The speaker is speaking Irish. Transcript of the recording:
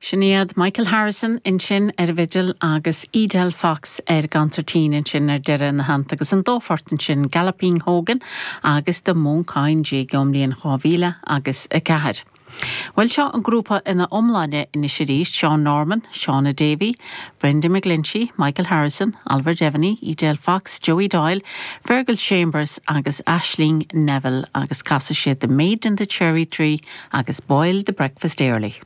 Sin iad Michael Harrison ansin ar an bhfidil agus Edel Fox ar an gconsairtín ansin ar deireadh ina theannta agus an dá phort ansin, Galloping Hogan agus The Mooncoin Jig ón mbliain 2000 agus 4. Bhuel seo an grúpa ina iomláine anois arís, Seán Norman, Shauna Davey, Brendan McGlinchey, Michael Harrison, Oliver Devaney, Edel Fox, Joey Doyle, Fergal Chambers agus Aisling Neville agus casfaidh siad The Maid in the Cherry Tree agus Boil the Breakfast Early.